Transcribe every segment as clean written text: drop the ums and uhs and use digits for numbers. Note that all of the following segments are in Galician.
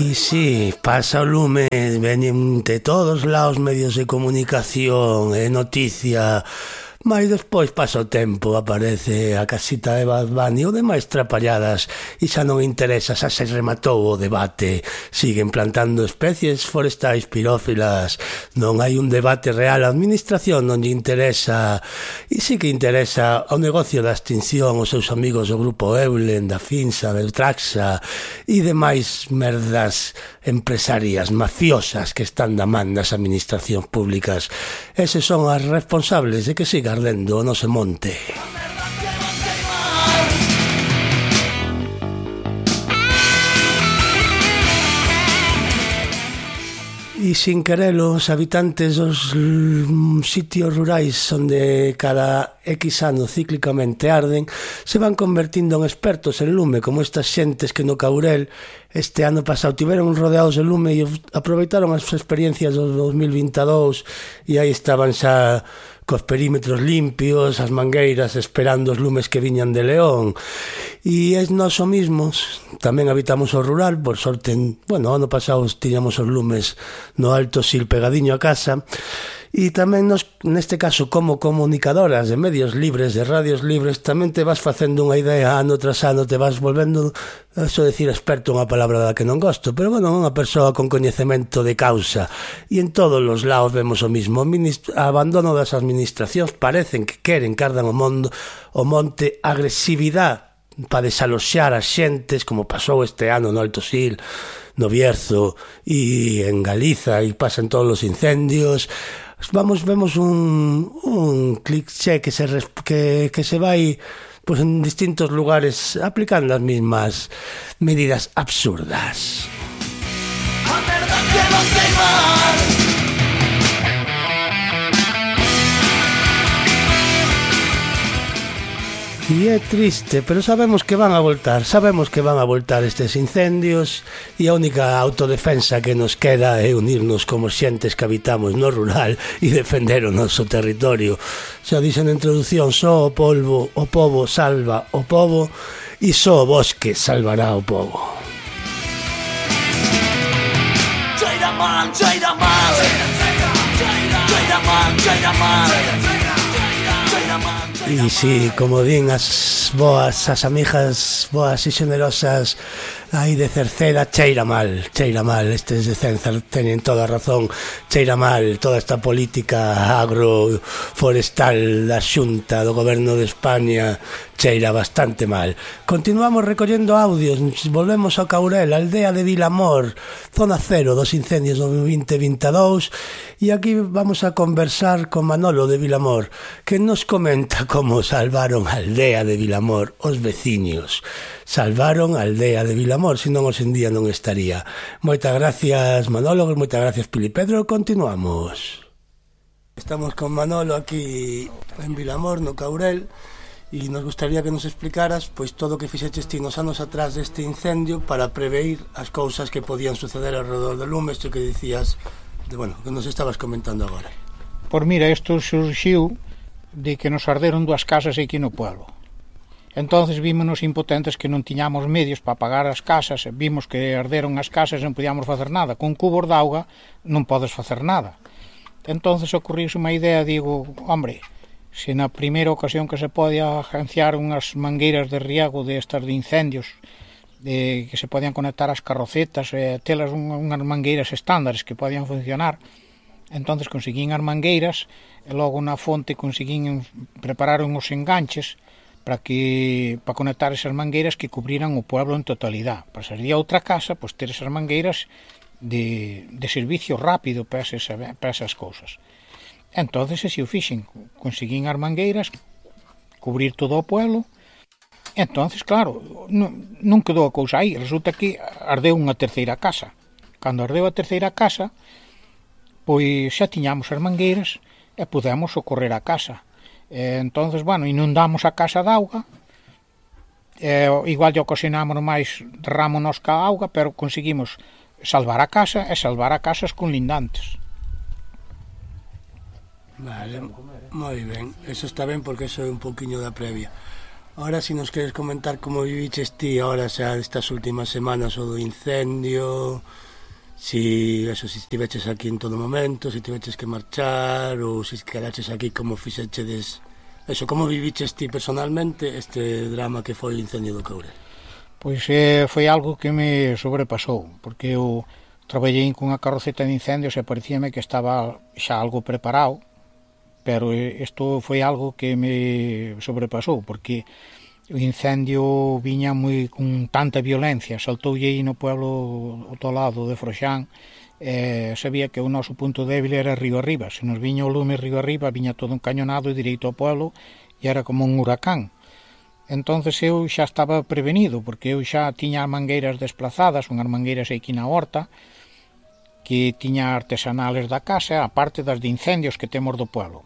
E si, pasa o lume, veñen de todos lados medios de comunicación e noticia, mas despois pasa o tempo, aparece a casita de Bad Bunny ou demais trapalladas e xa non interesa, xa se rematou o debate, siguen plantando especies forestais pirófilas, non hai un debate real, a administración non lle interesa, e sí que interesa ao negocio da extinción, os seus amigos do grupo Eulen, da Finsa, del Traxa e demais merdas empresarias mafiosas que están da man das administracións públicas. Eses son as responsables de que siga ardendo o noso monte. E sin querelo, os habitantes dos sitios rurais onde cada X ano cíclicamente arden se van convertindo en expertos en lume, como estas xentes que no Caurel este ano pasado tiveron rodeados de lume e aproveitaron as experiencias do 2022 e aí estaban xa cos perímetros limpios, as mangueiras esperando os lumes que viñan de León. E es noso mismos, tamén habitamos o rural, por sorte, bueno, ano pasado tiñamos os lumes no Alto Sil pegadiño a casa, e tamén nos, neste caso, como comunicadoras de medios libres, de radios libres, tamén te vas facendo unha idea ano tras ano, te vas volvendo, eso decir experto, unha palabra da que non gosto, pero bueno, unha persoa con coñecemento de causa, e en todos os lados vemos o mismo, abandono das administracións, parecen que queren que ardan o monte, agresividade para desaloxar as xentes, como pasou este ano no Alto Sil, no Bierzo e en Galiza, e pasan todos os incendios. Vemos un cliché que se vai pues, en distintos lugares aplicando as mismas medidas absurdas. A verdad que non sei mal. E é triste, pero sabemos que van a voltar estes incendios e a única autodefensa que nos queda é unirnos como xentes que habitamos no rural e defender o noso territorio. Xa dixen na introducción, só o pobo salva o pobo e só o bosque salvará o pobo. Cheira mal, cheira mal, cheira mal, cheira mal. E si, como din as amigas boas e generosas aí de Cerceda, cheira mal, estes de Cenzar teñen toda a razón, cheira mal toda esta política agroforestal da Xunta do Goberno de España, cheira bastante mal. Continuamos recollendo audios, volvemos ao Caurel, aldea de Vilamor, zona cero dos incendios do 2022, e aquí vamos a conversar con Manolo de Vilamor, que nos comenta como salvaron a aldea de Vilamor os veciños. Salvaron a aldea de Vilamor, senón hoxe en día non estaría. Moitas gracias, Manolo, moitas gracias, Pili Pedro. Continuamos. Estamos con Manolo aquí en Vilamor, no Caurel, e nos gustaría que nos explicaras pois todo o que fixeches ti nos anos atrás deste incendio para preveir as cousas que podían suceder alrededor do lume, isto que dicías, que nos estabas comentando agora. Por mira, isto surxiu de que nos arderon 2 casas aquí no pueblo. Entonces vímonos impotentes que non tiñamos medios para pagar as casas, vimos que arderon as casas e non podíamos facer nada. Con cubos de auga non podes facer nada. Entonces ocorriuse unha idea, digo, hombre, se na primeira ocasión que se podía agenciar unhas mangueiras de riego de estas de incendios, que se podían conectar ás carrocetas, telas unhas mangueiras estándares que podían funcionar, entonces conseguín as mangueiras e logo na fonte conseguín preparar uns enganches para conectar esas mangueiras que cubriran o pueblo en totalidade. Para salir a outra casa, pois ter esas mangueiras de servicio rápido para esas cousas. Entonces, así o fixen, conseguín as mangueiras, cubrir todo o pueblo. Entonces, claro, non quedou a cousa aí, resulta que ardeu unha terceira casa. Cando ardeu a terceira casa, pois xa tiñamos as mangueiras e podemos socorrer a casa. Entonces, inundamos a casa de auga, igual lle ocasionamos máis derrámonos ca auga, pero conseguimos salvar a casa e salvar a casas conlindantes. Vale, moi ben, eso está ben porque eso é un pouquiño da previa. Ahora, si nos queres comentar como viviches ti ahora xa estas últimas semanas o do incendio, si estiveches aquí en todo momento, si tiveches que marchar ou si quedaches aquí, como fixechedes eso, como viviches ti personalmente este drama que foi o incendio do Courel? Pois foi algo que me sobrepasou, porque eu traballei cunha carroceta de incendios e parecíame que estaba xa algo preparado, pero isto foi algo que me sobrepasou, porque o incendio viña moi con tanta violencia, saltoulle aí no pueblo ao lado de Froxán, sabía que o noso punto débil era río arriba, se nos viña o lume río arriba, viña todo encañonado e direito ao pueblo, e era como un huracán. Entonces eu xa estaba prevenido, porque eu xa tiña as mangueiras desplazadas, unhas mangueiras aquí na horta, que tiña artesanales da casa, aparte das de incendios que temos do pueblo.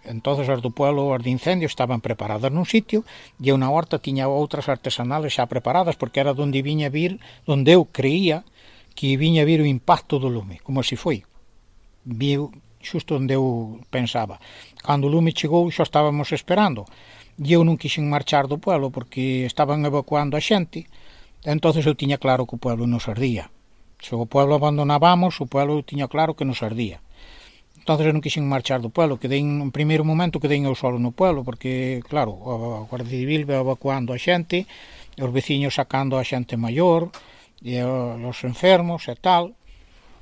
Entonces as do pueblo, as de incendios, estaban preparadas nun sitio, e eu na horta tiña outras artesanales xa preparadas, porque era onde viña vir, onde eu creía que viña vir o impacto do lume, como se foi. Viu xusto onde eu pensaba. Cando o lume chegou, xa estábamos esperando, e eu non quixen marchar do pueblo, porque estaban evacuando a xente, entonces eu tiña claro que o pueblo nos ardía. Se o pueblo abandonábamos, o pueblo tiña claro que nos ardía. Entonces eu non quixen marchar do pueblo, quedei en primeiro momento quedei eu solo no pueblo, porque claro, a Guardia Civil ve evacuando a xente, os veciños sacando a xente maior, e os enfermos e tal.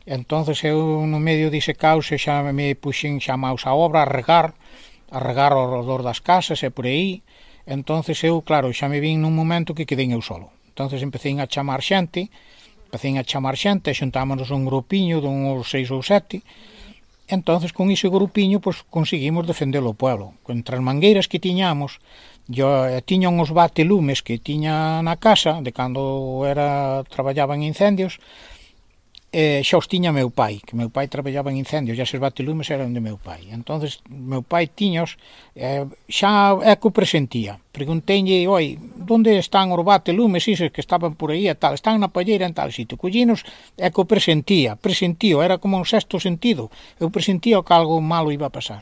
Entonces eu no medio dise caos xa me puxen chamaos a obra a regar ao redor das casas e por aí. Entonces eu, claro, xa me vin nun momento que quedei eu solo. Entonces empecé a chamar xente, e xuntámonos un grupiño de uns 6 ou 7. Entonces, con ese grupiño, pues, conseguimos defender o pueblo. Contra as mangueiras que tiñamos, tiña uns batelumes que tiña na casa, de cando traballaba en incendios, xa os tiña meu pai, que meu pai traballaba en incendios, e eses batelumes eran de meu pai. Entonces, meu pai tiños, xa é que o presentía. Pregunteinlle, oi, onde están os batelumes, isos que estaban por aí e tal, están na palleira en tal sitio. Collinos, é que o presentío, era como un sexto sentido. Eu presentía que algo malo iba a pasar.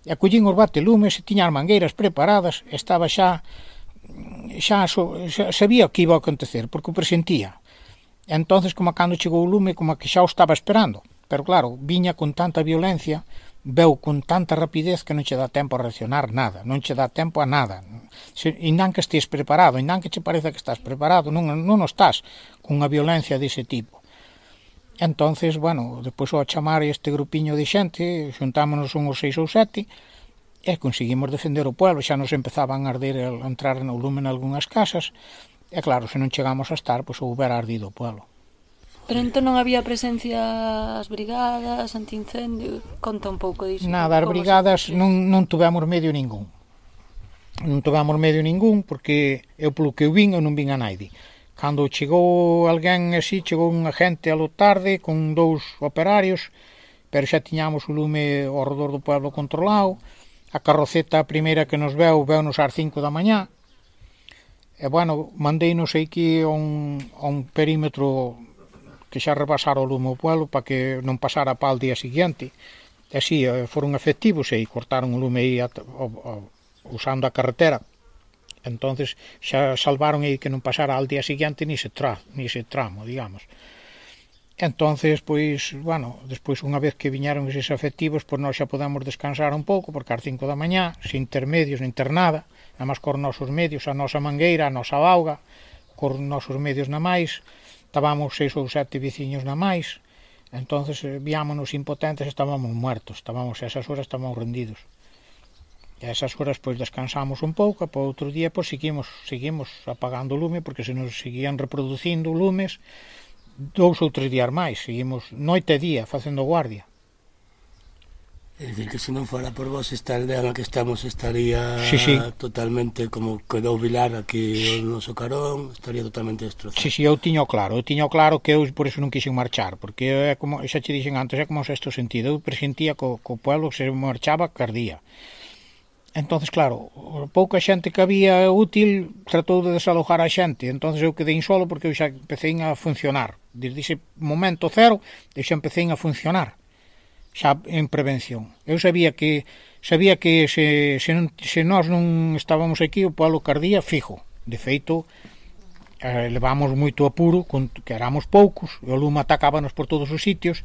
E collín os batelumes, tiña as mangueiras preparadas, estaba xa sabía o que iba a acontecer, porque o presentía. Entonces, como cando chegou o lume, como que xa o estaba esperando. Pero claro, viña con tanta violencia, veu con tanta rapidez que non che dá tempo a reaccionar nada, non che dá tempo a nada. Indan que estés preparado, indan que che pareza que estás preparado, non estás con unha violencia dese tipo. Entonces, bueno, depois ao chamar este grupiño de xente, xuntámonos uns 6 ou 7, e conseguimos defender o pueblo, xa nos empezaban a arder, a entrar no lume en algunhas casas. E claro, se non chegamos a estar, pois houbera ardido o pueblo. Pero entón non había presencia as brigadas, antiincendio? Conta un pouco disso. Nada, as brigadas non tuvemos medio ningún. Non tuvemos medio ningún, porque eu polo que eu vin, eu non vin a naide. Cando chegou alguén así, chegou unha gente a lo tarde, con 2 operarios, pero xa tiñamos o lume ao redor do pueblo controlado. A carroceta primeira que nos veunos ás 5 da mañá. E, bueno, mandeinos aquí a un perímetro que xa rebasara o lume ao pueblo para que non pasara pa al día seguinte. E así, foron efectivos e cortaron o lume aí usando a carretera. Entonces xa salvaron aí que non pasara al día seguinte ni ese tramo, digamos. Entonces, pois, bueno, despois unha vez que viñeron eses efectivos, pois nós xa podemos descansar un pouco, porque ás 5 da mañá, sin ter medios, nin ter nada, nada máis cor nosos medios, a nosa mangueira, a nosa auga, cor nosos medios na máis, estábamos 6 ou 7 veciños na máis, entonces viámonos impotentes, estábamos muertos, a esas horas estábamos rendidos. E a esas horas, pois, descansamos un pouco, e para outro día, pois, seguimos apagando o lume, porque se nos seguían reproducindo lumes, 2 ou 3 días máis, seguimos noite e día facendo guardia. É dicir, que se non fora por vos, esta aldea na que estamos estaría totalmente como quedou Vilar aquí o noso carón, estaría totalmente destrozado. Si, eu tiño claro que eu por eso non quixen marchar, porque é como, xa che dixen antes, é como un sexto sentido, eu presentía que o pueblo se marchaba cardía. Entonces, claro, pouca xente que había útil tratou de desalojar a xente, entonces eu quedei solo porque eu xa empecé a funcionar. Desde ese momento cero, eu xa empecé a funcionar. xa en prevención. Eu sabía que se nós non estábamos aquí, o pueblo cardía fijo. De feito, levamos moito apuro, que éramos poucos, e o lume atacábanos por todos os sitios,